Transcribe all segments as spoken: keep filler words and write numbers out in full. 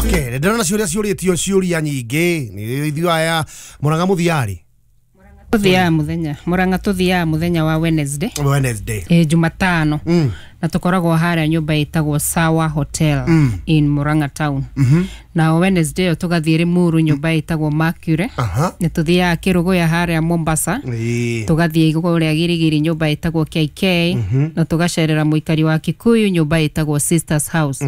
Okay, ndĩrona ciũria ciũrĩtio ciũria nyingĩ nĩ ithuĩ aya Murang'a mũthiarĩ Tuthiaga muthenya Murang'a, tuthiaga muthenya wa Wednesday. Wednesday. E, Jumatano. Mm. Na tukoragwo haria nyumba ĩtagwo Sawa Hotel Mm. in Murang'a town. Mhm. Na Wednesday ĩyo tũgathiĩ Limuru, nyũmba ĩtagwo Mercury. Aha. Nĩ tuthiaga Kĩrũgũya harĩa Mombasa. Ĩĩ. Tũgathiĩ kũrĩa Girigiri, nyũmba ĩtagwo K K, na tũgacerera mũikari wa Kikuyu, nyũmba ĩtagwo Sisters House.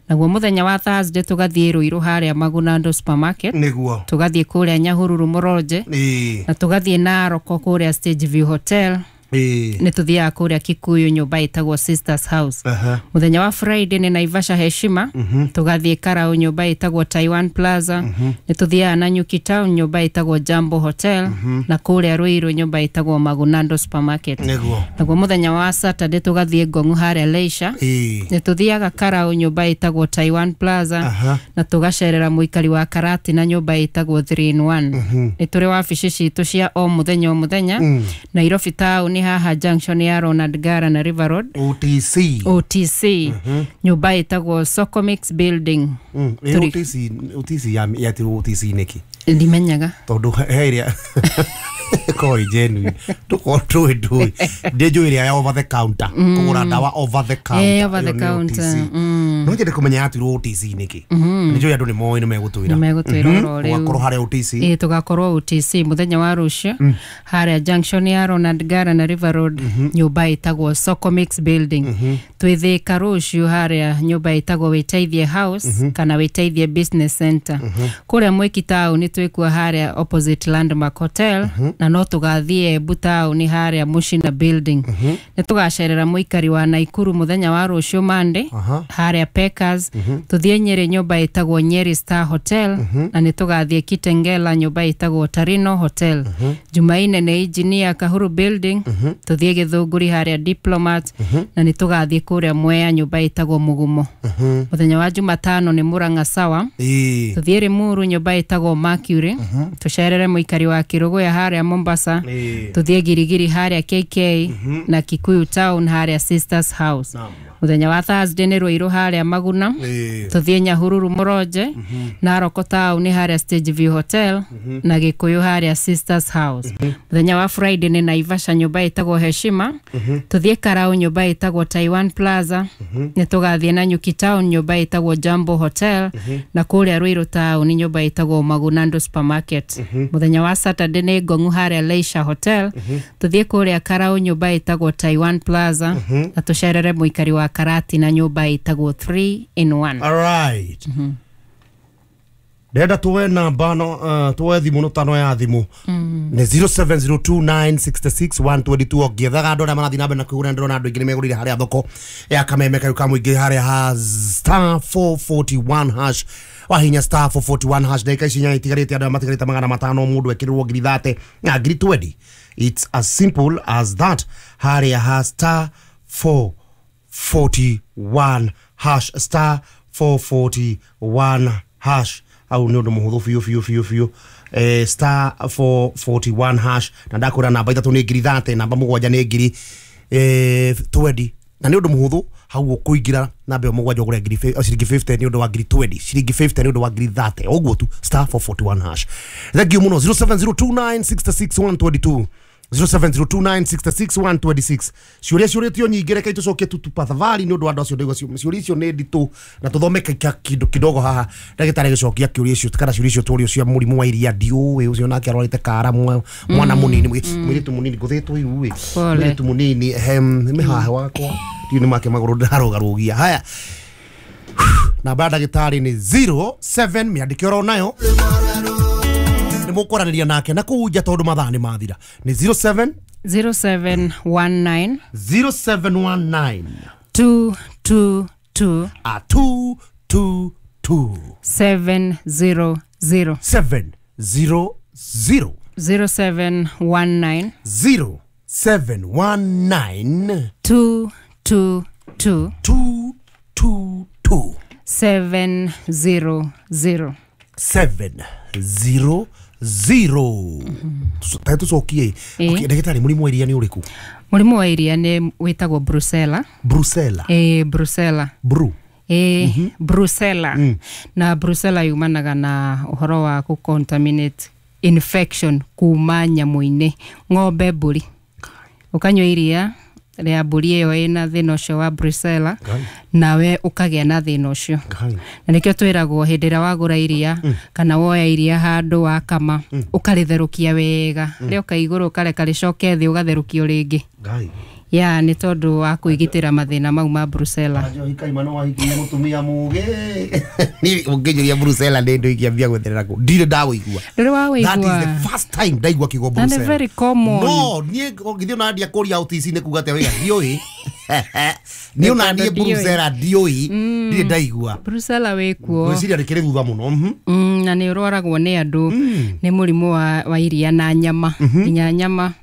Naguo mũthenya wa Thursday tũgathiĩ Ruiru harĩa Magunando Supermarket. Nĩguo. Tũgathiĩ kũrĩa Nyahururu Mũronje, Ĩĩ. na tũgathiĩ Naroko kũrĩa Stage View Hotel. Ĩĩ. Nĩ tũthiaga kũrĩa Kikuyu, nyũmba ĩtagwo Sisters House. Aha. Mũthenya wa Friday nĩ Naivasha Heshima. Tũgathiĩ Karau, nyũmba ĩtagwo Taiwan Plaza. Nĩ tũthiaga Nanyuki Town, nyũmba ĩtagwo Jambo Hotel, na kũrĩa Ruiru, nyũmba ĩtagwo Magunando Supermarket. Nĩguo. Naguo mũthenya wa Saturday tũgathiĩ Ngong'u harĩa Leisure. Ĩĩ. Nĩ tũthiaga Karau, nyũmba ĩtagwo Taiwan Plaza, Aha. na tũgacerera mũikari wa Karati na nyũmba ĩtagwo three in one. Nĩ tũrĩ wabici citũ cia o mũthenya o mũthenya Nairobi town, haha junction ya Ronald Ngala na River Road. O T C. O T C, nyũmba ĩtagwo Socomix Building. Mm. Ĩ, Tũrĩ- O T C O T C ya yatirwo O T C nĩkĩ? Ndimenyaga. Tondũ he ĩrĩa ĩkoragwo ĩ genuine, tũkorwo tũĩ ndũĩ ndĩ njũĩ ĩrĩa ya over the counter, kũgũra ndawa over the counter. Eh, over the Ĩyo nĩ counter. O T C. mm. No nyende kũmenya yatirwo O T C nĩkĩ. Nĩ njũĩ andũ nĩ moĩ, nĩ megũtwĩra. Nĩ megũtwĩra oro rĩu. Ũgakorwo harĩa O T C. Ĩ, tũgakorwo O T C mũthenya wa rũciũ harĩa junction ya Ronald Ngala na River Road, nyũmba ĩtagwo Socomix Building. Twĩ Thĩka rũciũ harĩa nyũmba ĩtagwo Wĩteithie House kana Wĩteithie Business Center. Kũrĩa Mwĩki town twĩkuo harĩa opposite Landmark Hotel, na no tũgathiĩ Embu town harĩa Mushina Building. Nĩ tũgacerera mũikari wa Naikuru mũthenya wa rũciũ Monday Aha. harĩa Pekas. Tũthiĩ Nyĩrĩ, nyũmba ĩtagwo Nyeri Star Hotel, na nĩ tũgathiĩ Kitengela, nyũmba ĩtagwo Tarino Hotel. Jumaine nĩ Engineer Kahuru Building. Tũthiĩ Gĩthũngũri harĩa Diplomat, na nĩ tũgathiĩ kũrĩa Mwea, nyũmba ĩtagwo Mũgumo. Mũthenya wa Jumatano nĩ Murang'a Sawa. Ĩĩ. Tũthiĩ Limuru, nyũmba ĩtagwo Mercury. Tũcerere mũikari wa Kĩrũgũya harĩa Mombasa. Ĩĩ. Tũthiĩ Girigiri harĩa K K, na Kikuyu town harĩa Sisters House. Naam. Mũthenya wa Thursday nĩ Ruiru harĩa Maguna. Ĩĩ. Tũthiĩ Nyahururu Mũronje, Naroko town harĩa Stage View Hotel, na Gĩkũyũ harĩa Sisters House. Mũthenya wa Friday nĩ Naivasha, nyũmba ĩtagwo Heshima. Tũthiĩ Karau, nyũmba ĩtagwo Taiwan Plaza. Nĩ tũgathiĩ Nanyuki town, nyũmba ĩtagwo Jambo Hotel, na kũrĩa Ruiru town, nyũmba ĩtagwo Magunando Supermarket. Mũthenya wa Saturday nĩ Ngong'u harĩa Leisure Hotel. Tũthiĩ kũrĩa Karau, nyũmba ĩtagwo Taiwan Plaza, na tũcerere mũikari wa Karati na nyũmba ĩtagwo three in one. Alright, ndĩrenda tuoe namba no uh, tuoe thimũ no tano ya thimũ nĩ zero seven zero two nine six six one two two. Ũngĩethaga andũ arĩa marathiĩ na mbere na kwĩgũra, ndĩrona andũ aingĩ nĩ megũrire harĩa thoko ya Kameme kau ka mũingĩ harĩa ha star four forty-one hash. Wahinya star four forty-one hash, ndagĩka ici inya itigarĩte, andũ arĩa matigarĩte magana matano, mũndũ ekĩrĩrwo ngiri thate na ngiri twenty. It's as simple as that harĩa ha star four forty-one hash, star four forty-one hash. Au nĩ ũndũ mũhũthũ biũ biũ biũ biũ. eh, star four forty-one hash, na ndakwĩra namba ithatũ nĩ ngiri thate, namba mũgwanja nĩ ngiri eh, twenty, na nĩ ũndũ mũhũthũ hau ũkũingĩra namba ĩyo mũgwanja ũgũre ngiri fi- ciringi fifty nĩ ũndũ wa ngiri twenty, ciringi fifty nĩ ũndũ wa ngiri thate, ũguo tu, star four forty-one hash. Thank you mũno. zero seven zero two nine six six one two two, zero seven zero two nine six six one two six. Ciũria ciũrĩtio nyingĩ, reke tũcokie tu tafadhali nĩ ũndũ wa andũ acio. Ndaigua ciũria icio nĩ nditũ na tũthome ka- kĩndũ kidogo haha, ndagĩtarĩ agĩcokia kĩũria icio kana ciũria icio tũrio cia mũrimũ wa iria. Ndiũĩ ũcio nake arwarĩte kara mwa- mwana mũnini, mũirĩtu mũnini ngũthĩtwo iru ĩ. Pole. Mũirĩtu mũnini hem nĩ mĩhahe wakwa, ndiũ nĩ make magũrũ ndĩrarũgarũgia. Haya, namba ya ndagĩtarĩ nĩ zero seven, mĩandĩke oro nayo, nĩ mũkwaranĩria nake na kũu nja tondũ mathaa nĩ mathira. Nĩ zero seven zero seven one nine zero seven one nine two two two a two two two seven zero zero. seven zero zero. zero seven one nine zero seven one nine two two two two two two seven zero zero. seven zero zero. Ta tũcokie. Ĩĩ. Okay, ndagĩtarĩ, mũrimũ wa iria nĩ ũrĩkũ? Mũrimũ wa iria nĩ wĩtagwo brucella. Brucella. Ĩ, brucella. Bru. Eh, brucella. Na brucella yumanaga na ũhoro wa kũ contaminate infection kuma nyamũ-inĩ, ng'ombe, mbũri. Ũkanyua iria rĩa mbũri ĩyo ĩna thĩna ũcio wa brucella, Ngai. nawe ũkagĩa na thĩna ũcio. Ngai. Na nĩkĩo twĩragwo hĩndĩ ĩrĩa wagũra iria kana woya iria handũ wakama, ũkarĩtherũkia wega, rĩoka igũrũ ũkareka rĩcoke thĩ, ũgatherũkio rĩngĩ. Ngai. Ya nĩ tondũ wa kwĩgitĩra mathĩna mau ma brucella. Njohi kaima no wahikirie mũtumia mũgĩ. Niĩ ũngĩnjũria brucella nĩ ndũ ingĩambia gwetherera kũ, ndirĩ ndawĩigua. Ndũrĩ That is wawaigua? the first time ndaigua kiugo Na nĩ brucella. very common. No niĩ ũngĩthiĩ ona ndia kũria O T C nĩ kuga atĩa wĩga ndiũĩ. Niĩ ona niĩ Ndiũĩ. Brucella ndiũĩ, ndirĩ ndaigua. Brucella wĩkuo. Ngwĩciria rĩkĩrĩ thutha mũno. Mhm. Mm, na nĩ ũrwaragwo nĩ andũ nĩ mũrimũ wa, wa iria na nyama, nginya nyama.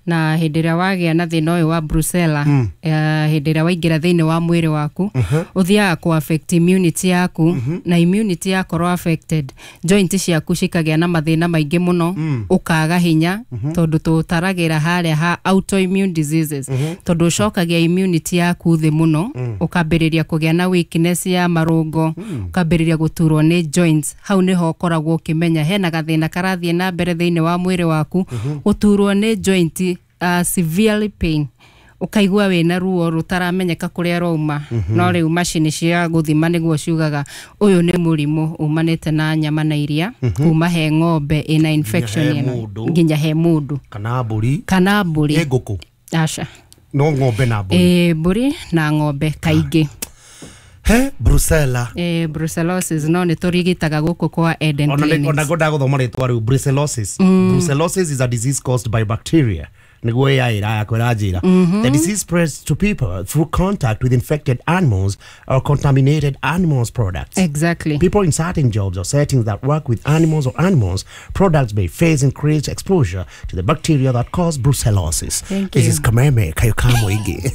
Na hĩndĩ ĩrĩa wagĩa na thĩna ũyũ wa brucella, eh, hĩndĩ ĩrĩa waingĩra thĩinĩ wa mwĩrĩ waku, ũthiaga kũ affect immunity yaku, na immunity yakorwo affected, joint ciaku cikagĩa na mathĩna maingĩ mũno, ũkaga hinya, tondũ tũtaragĩra harĩa ha autoimmune diseases, tondũ ũcokagia immunity yaku thĩ mũno, ũkambĩrĩria kũgĩa na weakness ya marũngo, ũkambĩrĩria gũturwo nĩ joints. Hau nĩho ũkoragwo ũkĩmenya hena gathĩna karathiĩ na mbere thĩinĩ wa mwĩrĩ waku. Gũturwo nĩ joint, uh, severely pain, ũkaigua wĩna ruo rũtaramenyeka kũrĩa rwauma. No rĩu macini cia gũthima nĩguo ciugaga ũyũ nĩ mũrimũ umanĩte na nyama na iria kuma he ng'ombe ĩna infection he ĩno. Mũndũ. Nginya he mũndũ. Kana mbũri? Kana mbũri. Ĩ ngũkũ? Aca. No ng'ombe na mbũri? Ĩ, mbũri na ng'ombe kaingĩ. He brucella. Ĩ, brucellosis, no nĩ tũrigitaga gũkũ kwa Eden ona Clinics. Ona ngwendaga gũthoma rĩtwa rĩu, brucellosis. Brucellosis is a disease caused by bacteria, nĩguo A I ĩrayakwa ĩranjĩra. The disease spreads to people through contact with infected animals or contaminated animals products. Exactly. People in certain jobs or settings that work with animals or animals products may face increased exposure to the bacteria that cause brucellosis. Thank This you. is Kameme kayo kamũingĩ.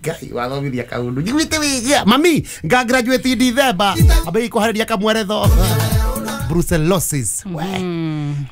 Ngai wathomithia kaundu njiguĩte wĩgia mami nga graduate in December ambei kũharĩria kamweretho. Brucellosis, we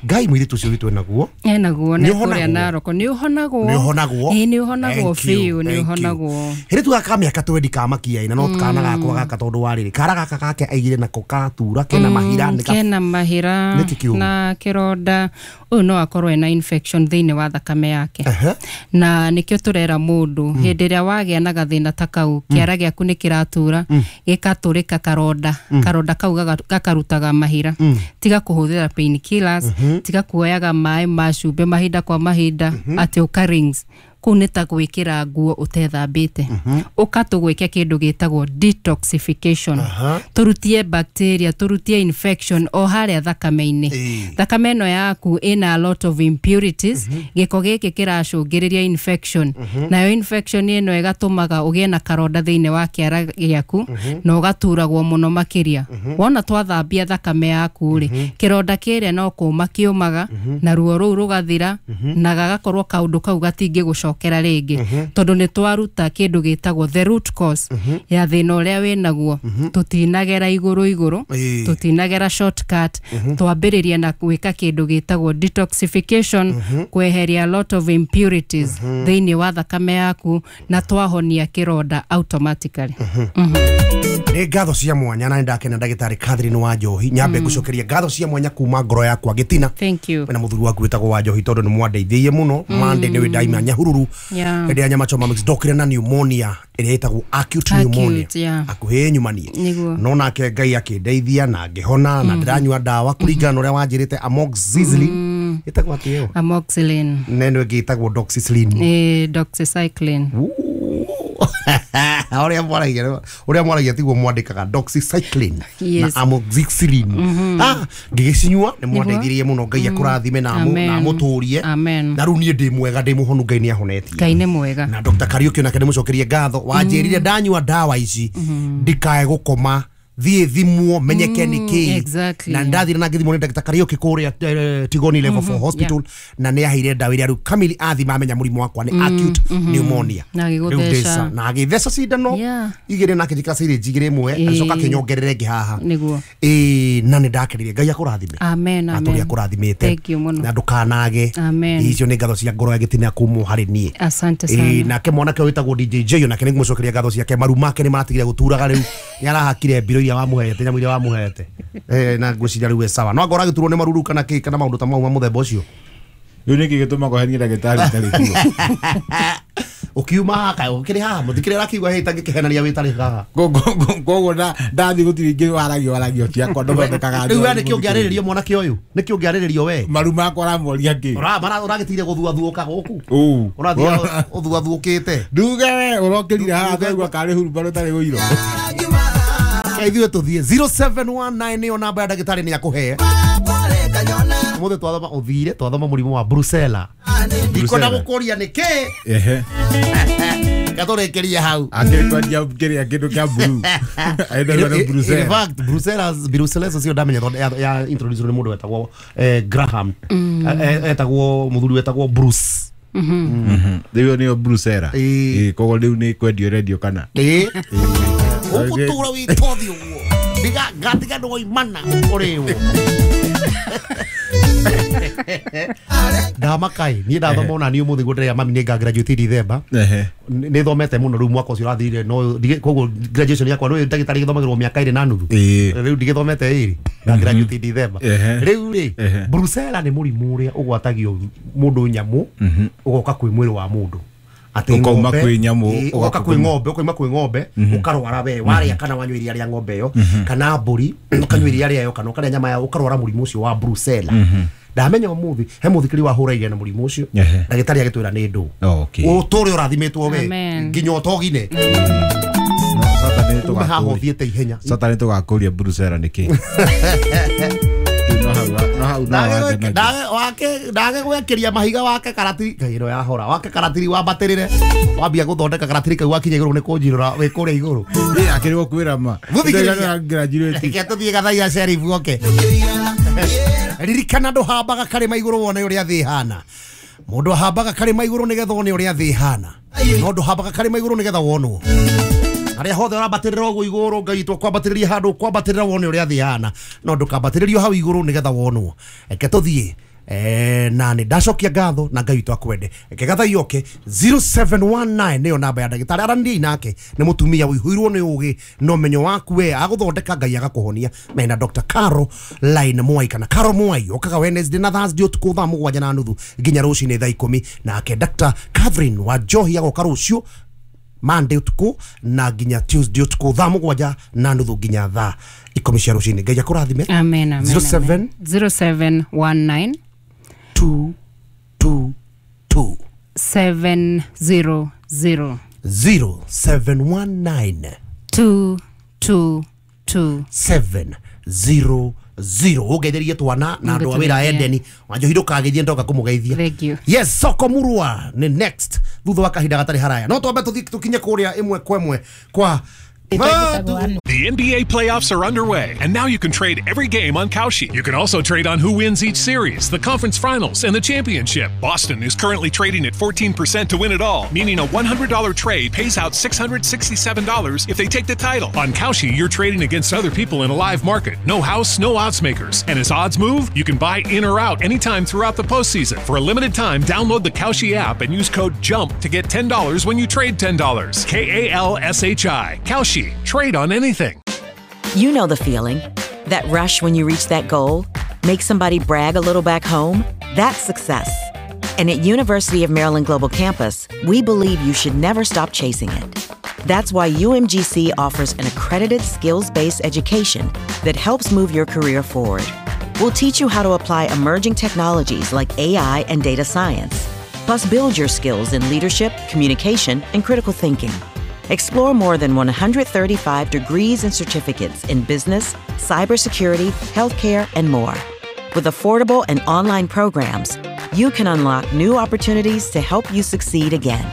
Ngai, mũirĩtu ũcio witũ enaguo. Enaguo. Nĩ Na ũhonagwo? kũrĩa Naroko nĩ ũhonagwo. Nĩ ũhonagwo. Ĩ, nĩ ũhonagwo. Thank you, biũ nĩ thank you. ũhonagwo. Hĩrĩ tuga ka mĩaka twendi kamakia ina no kana gakwa gaka, tondũ wa rĩrĩ kara gaka gake aigire nako katura kena mahira nĩ ka- Kena mahira. Nĩkĩ kĩũru? Na kĩronda. Ũyũ no akorwo ena infection thĩinĩ wa thakame yake. Ehe. Na nĩkĩo tũrera mũndũ, hĩndĩ ĩrĩa wagĩa na gathĩna ta kau, kĩara gĩaku nĩ kĩratura, gĩkatũrĩka karonda, karonda kau gaga- gakarutaga mahira, tiga kũhũthĩra painkillers, tiga kuoyaga maĩ ma cumbĩ mahinda kwa mahinda, atĩ ũka rings kũu nĩ ta gwĩkĩra nguo ũtethambĩte. Ũka tũgwĩke kĩndũ gĩtagwo detoxification. Aha. Tũrutie bacteria, tũrutie infection o harĩa thakame-inĩ. Ĩĩ. Thakame ĩno yaku ĩna a lot of impurities. Gĩko gĩkĩ kĩracũngĩrĩria infection, nayo infection ĩno ĩgatũmaga ũgĩe na karonda thĩinĩ wa kĩara gĩaku na ũgaturagwo mũno makĩria. Wona twathambia thakame yaku rĩ, kĩronda kĩrĩa no kũma kĩũmaga, na ruo rũu rũgathira, na gagakorwo kaũndũ kau gatingĩgũcokera rĩngĩ, tondũ nĩ twaruta kĩndũ gĩtagwo the root cause ya thĩna ũrĩa wĩnaguo. Tũtinagera igũrũ igũrũ. Ĩĩ. Tũtinagera shortcut. Twambĩrĩria na gwĩka kĩndũ gĩtagwo detoxification, kweheria a lot of impurities thĩinĩ wa thakame yaku, na twahonia kĩronda automatically. Nĩ ngatho cia mwanya na nĩ ndakena, ndagĩtarĩ Catherine wa Njohi. Nyambe ngũcokeria ngatho cia mwanya kuma ngoro yakwa gĩtina Thank you. na mũthuri waku wĩtagwo wa Njohi, tondũ nĩ mwandeithĩie mũno. Mande nĩ ndaima Nyahururu Yeah. hĩndĩ ya nyama choma mix, ndokire na pneumonia ĩrĩa ĩtagwo acute pneumonia. Acute, yeah. Akuhĩ nyumanie. Nĩguo. No nake Ngai akĩndeithia na ngĩhona, na ndĩranyua ndawa kũringana na ũrĩa wanjĩrĩte, amoxicillin, ĩtagwo atĩ ĩyo? Amoxicillin. Neno ĩngĩ ĩtagwo doxycycline. Eh, doxycycline. Ũrĩa mwaragia, ũrĩa mwaragia tiguo mwandĩkaga, doxycycline Yes. na amoxicillin. Ah, ngĩgĩcinyua, nĩ mwandeithirie mũno. Ngai akũrathime na amũ- Amen. na amũtũrie. Amen. Na rĩu niĩ ndĩ mwega, ndĩ mũhonu, Ngai nĩ ahonetie. Ngai nĩ mwega. Na Dr Kariuki onake ndĩmũcokerie ngatho, wanjĩrire ndanyua ndawa ici ndikae gũkoma, thiĩ thimwo menyeke nĩ kĩ. exactly. Na ndathire na ngĩthimwo nĩ Dr Kariuki kũrĩa eh, Tigoni Level four Hospital, na nĩ aheire ndawa iria rĩu kamili athima amenya mũrimũ wakwa nĩ acute pneumonia. Na Rĩu agĩgũtheca. ndĩca- na agĩtheca cindano Yeah. igĩrĩ na akĩnjĩkĩra syringe igĩrĩ, ĩmwe Ĩĩ. agĩcoka akĩnyongerera ĩngĩ haha. Nĩguo. Ĩĩ, na nĩ ndakenire. Ngai akũrathime. Amen, na amen. tũrĩa akũrathimĩte. Thank you mũno. Na ndũkanage. Amen. Icio nĩ ngatho cia ngoro ya gĩtina kumwo harĩ niĩ. Asante Ĩĩ, sana. Nake mwanake ũyũ wĩtagwo D J J, nake nĩ ngũmũcokeria ngatho ciake. Maru make nĩ maratigire gũturaga rĩu, nĩ arahakire mbiro iria wamũhete, nyamũ iria wamũhete. Eh, na ngwĩciria rĩu e sawa, no angorwo agĩturwo nĩ maruru kana kĩ kana maũndũ ta mau ma mũthemba ũcio. Rĩu nĩkĩ gĩtũma kũhenia ndagĩtarĩ itarĩ kuo? Ũkiuma haha kaĩ ũkĩrĩ haha mũthikĩrĩ arakiuga hĩ tangĩkĩhenania wĩtarĩ haha. Koguo ndathiĩ gũtirĩ ingĩ waragio waragio ciakwa ndũthondekaga. Rĩu we nĩkĩ ũngĩarĩrĩrio mwanake ũyũ, nĩkĩ ũngĩarĩrĩrio we? Maru makwa ũramoria kĩ? Ũragĩtigire gũthuathuũka gũkũ. Ũ. Ũrathiĩ ũthuathuũkĩte. Nduge we ũrokĩrire haha twaigua karĩ hurumbarũ tarĩ ũiro. Ithuĩ tũthiĩ zero seven one nine, nĩyo namba ya ndagĩtarĩ, nĩ akũhe. Ũmũthĩ twathoma ũthire twathoma mũrimũ wa brucella, ndikwenda gũkũria nĩkĩ. Ehe. Gatũrĩkĩrie hau. Akĩrĩ kwendia kĩrĩa kĩndũ kĩa blue. Aendagwo na In brucella. fact, brucella brucellosis cio ndamenya tondũ ya, ya introduce nĩ mũndũ wetagwo eh, Graham. Eh, eh, etagwo mũthuri wetagwo Bruce. Rĩu nĩyo brucella. Ĩĩ. Ĩĩ, koguo rĩu nĩ kwendio rendio kana? Ĩĩ, ũgũtũra wĩ tothi ũguo ndiga ngatiga ndwoimana ũrĩwo ndamakai. Niĩ ndathoma ona niĩ ũmũthĩ guo ndĩrĩa mami nĩ nga graduate December. Ehe. Nĩ thomete mũno rĩu mwaka ũcio ũrathirire, no ndige- koguo graduation yakwa rĩu ndagĩtarĩ gĩthomagĩrwo mĩaka ĩrĩ na nuthu. Ĩĩ. Rĩu ndigĩthomete ĩrĩ na graduate December. Ehe. Rĩu rĩ, Ehe. brucella nĩ mũrimũ ũrĩa ũgwatagio mũndũ nyamũ ũgoka kwĩ mwĩrĩ wa mũndũ atĩ Ũkauma ng'ombe- kwĩ nyamũ, Ĩĩ, ũgoka ũgoka kwĩ ng'ombe, ũkauma kwĩ ng'ombe ũkarwara we warĩa kana wanyua iria rĩa ng'ombe ĩyo kana mbũri, ũkanyua iria rĩayo kana ũkarĩa nyama yayo, ũkarwara mũrimũ ũcio wa brucella. Ndamenya ũmũthĩ he mũthikĩri wahũra na mũrimũ ũcio. Ehe. Ndagĩtarĩ agĩtwĩra nĩ ndũ. Okay. Ũtũre ũrathimĩtwo we. Amen. Nginya ũtogine. Sata nĩ ume haha tũgakũria. ũthiĩte ihenya. Sata nĩ tũgakũria brucella nĩ kĩ. Rĩu no hau no hau no wangenagia. Ndage gwĩkĩria mahiga wake karatiri ngai ĩno yahora wake karatiri wambatĩrĩre wambia gũthondeka karatiri kau wakinya igũrũ nĩ kũnjirũra wĩ kũrĩa igũrũ. Ĩ, akĩrĩ gũkwĩra ma. Gũthikĩrĩria. Graduate. Reke tũthiĩ gathaia sheriff oke. Ririkana ndũhambaga karĩma igũrũ wone ũrĩa thĩ ĩhana. Mũndũ ahambaga karĩma igũrũ nĩgetha one ũrĩa thĩ ĩhana, no ndũhambaga karĩma igũrũ nĩgetha wonwo. Harĩa hothe ũrambatĩrĩra ũguo igũrũ, Ngai witũ kwambatĩrĩria handũ kwambatĩrĩra wone ũrĩa thĩ ĩhana, no ndũkambatĩrĩrio hau igũrũ nĩgetha wonwo. Reke tũthiĩ. Eh, na nĩ ndacokia ngatho na Ngai witũ akwende. Reke gathai oke. zero seven one nine nĩyo namba ya ndagĩtarĩ, aranĩriai nake, nĩ mũtumia ũihũirwo nĩ ũgĩ na ũmenyo waku we agũthondeka Ngai agakũhonia. Mena Doctor Caro Line Mwai kana Caro Mwai okaga Wednesday na Thursday ũtukũ thaa mũgwanja na nuthu nginya rũcinĩ thaa ikũmi. Nake Doctor Catherine wa Njohi agoka rũciũ Monday ũtukũ na nginya Tuesday ũtukũ thaa mũgwanja na nuthu nginya thaa ikũmi cia rũcinĩ. Ngai akũrathime. Amen, amen. zero seven Amen. zero seven one nine two two two seven zero zero zero seven one nine two two two seven zero zero. Ũngeithĩrie twana na andũ a wĩra. Ngũtũgeithia. Edeni Wanjohi, ndũkageithie ndoka kũmũgeithia. Thank you. Yes, soko murua nĩ next thutha wa kahinda gatarĩ haraya, no twambe tũthiĩ tũkinye kũrĩa ĩmwe kwa ĩmwe kwa The N B A playoffs are underway, and now you can trade every game on Kalshi. You can also trade on who wins each series, the conference finals, and the championship. Boston is currently trading at fourteen percent to win it all, meaning a one hundred dollar trade pays out six hundred sixty-seven dollars if they take the title. On Kalshi, you're trading against other people in a live market. No house, no odds makers. And as odds move, you can buy in or out anytime throughout the postseason. For a limited time, download the Kalshi app and use code JUMP to get ten dollars when you trade ten dollars. K A L S H I. Kalshi. Trade on anything. You know the feeling. That rush when you reach that goal, make somebody brag a little back home. That's success. And at University of Maryland Global Campus, we believe you should never stop chasing it. That's why U M G C offers an accredited skills-based education that helps move your career forward. We'll teach you how to apply emerging technologies like A I and data science, plus build your skills in leadership, communication, and critical thinking. Explore more than one hundred thirty-five degrees and certificates in business, cybersecurity, healthcare, and more. With affordable and online programs, you can unlock new opportunities to help you succeed again.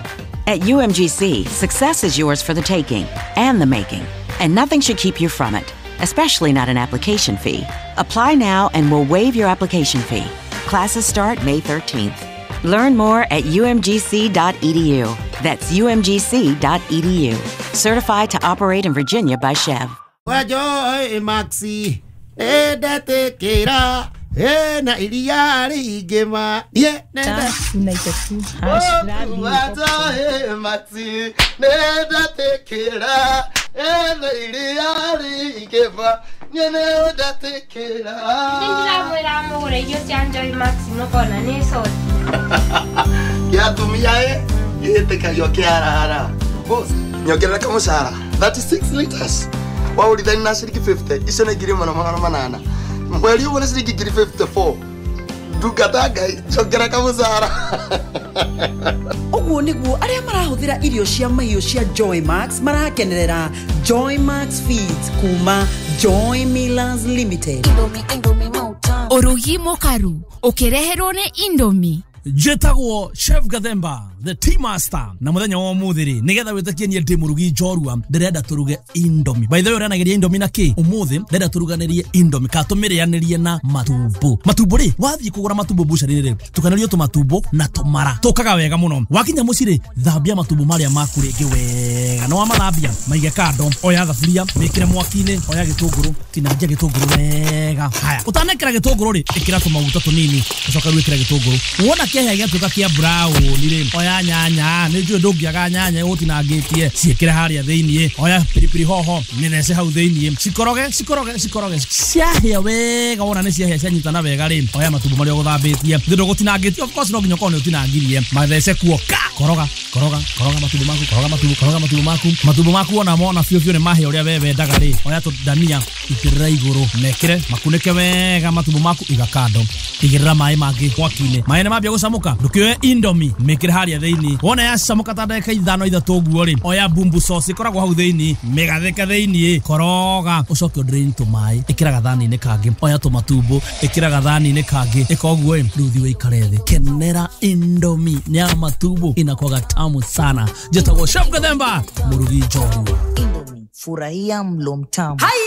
At U M G C, success is yours for the taking and the making, and nothing should keep you from it, especially not an application fee. Apply now and we'll waive your application fee. Classes start May thirteenth. Learn more at U M G C dot E D U. That's U M G C dot E D U. Certified to operate in Virginia by SCHEV. Wajo, eh, Maxi. Nĩndetikĩra ena iria rĩingĩ ye nenda nĩndetikĩra ena iria rĩingĩ nĩndetikĩra. Nĩndĩramwĩra mũgũre irio cia Joy Max mũkona nĩ coti. Kĩa atumia ĩ gĩtĩkagio kĩarara. Boss, nyongerera kamũcara thirty-six liters waũrithani na ciringi fifty icio nĩ ngiri ĩmwe na magana manana mweri ũmwe nĩ ciringi ngiri fifty-four ndungata Ngai njongera kamũcara. Ũguo nĩguo arĩa marahũthĩra irio cia mahiũ cia Joy Max marakenerera Joy Max Feeds kuma Joy Millers Limited. Ũrugi mũkaru ũkĩreherwo nĩ Indomie. Njĩtagwo Chef Gathemba the tea master na muthenya wa umuthi ri nigetha witakie nie ndi murugi njorua ndirenda turuge Indomie. By the way uranageria Indomie na ki umuthi ndirenda turuganirie Indomie ka tumirianirie na matumbo. Matumbo ri wathie kugura matumbo bucari ri tukanirio tumatumbo na tumara tukaga wega muno. Wakinya muci ri thambia matumbo maria maku ringi wega na wamathambia maige kando. Oya thaburia wikire mwaki-ini, oya gitunguru tinangia gitunguru wega. Haya utanekera gitunguru ri ikira tumaguta tunini ucoka wikire gitunguru wona kihia gĩatuĩka kĩa brown rĩ oya nyanya nĩ njũĩ ndũngĩaga nyanya ũtinangĩtie ciĩkĩre harĩa thĩiniĩ. Oya pilipili hoho mĩthece hau thĩiniĩ cikoroge cikoroge cikoroge ciahĩa wega wona nĩ ciahĩa cianyitana wega rĩ oya matumbo marĩa ũgũthambĩtie thĩ ndũgũtinangĩtie of course no nginya ũkorwo nĩ ũtinangirie mathece kuo ka koroga koroga koroga matumbo maku koroga matumbo koroga matumbo maku matumbo maku ona mona biũ biũ nĩ mahĩa ũrĩa we wendaga rĩ oya tũndania itĩrĩra igũrũ mekĩre makunĩke wega matumbo maku iga kando igĩrĩra maĩ mangĩ mwaki-inĩ maĩ nĩ mambia gũcamũka ndũkĩoe Indomie mĩkĩre harĩa thĩiniĩ wona yacamũka ta ndagĩka ithano ithatũ ũguo rĩ oya bumbu sauce ĩkoragwo hau thĩiniĩ mĩgathĩke thĩiniĩ koroga ũcoke ũdrain tũmaĩ ĩkĩra gathani-inĩ kangĩ oya tũmatumbo ĩkĩra gathani-inĩ kangĩ ĩka ũguo ĩ rĩu thiĩ ũikare thĩ kenera Indomie nĩ ya matumbo inakuwaga tamu sana. Njĩtagwo Chef Gathemba mũrugi njorua. Indomie, furahia mlo mtamu. Hai!